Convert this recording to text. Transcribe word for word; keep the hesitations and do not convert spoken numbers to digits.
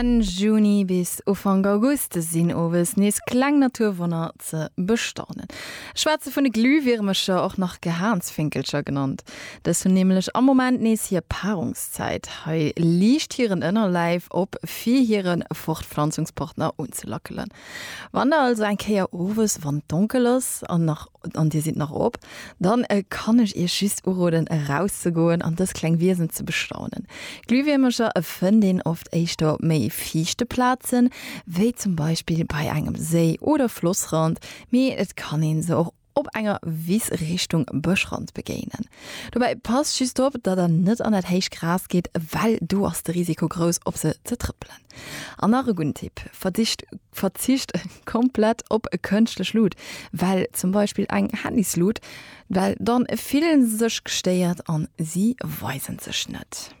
Enn Juni bis Ufank August sinn owes nees kleng Naturwonner ze bestaunen. Ech schwätze vun de Glühwiermercher, och nach Gehaansfinkelcher genannt. Dës hunn nämlech am Moment nees hir Paarungszäit. Hei liicht hiren Ënnerläif op fir hire Fortpflanzungspartner unzelackelen. Wann der also eng Kéier owes, wann et donkel ass an nach an dir sidd nach op, dann kann ech iech just uroden erauszegoen an dës kleng Wiesen ze bestaunen. Glühwiermercher fënnt een oft éischter op méi fiichte Plazen, wéi zum Beispill bei engem Séi oder Flossrand, mee et kann een se och op enger Wiss Richtung Bëschrand begéinen. Dobäi passt just op, datt der net an dat héicht Gras gitt, well do ass de Risiko grouss op se ze trëppelen. An nach e gudden Tipp, Verdicht verzicht komplett op kënschtlech Lut, well zum Beispill eng Handyslut, well dann fillen se sech gestéiert an si weisen sech net.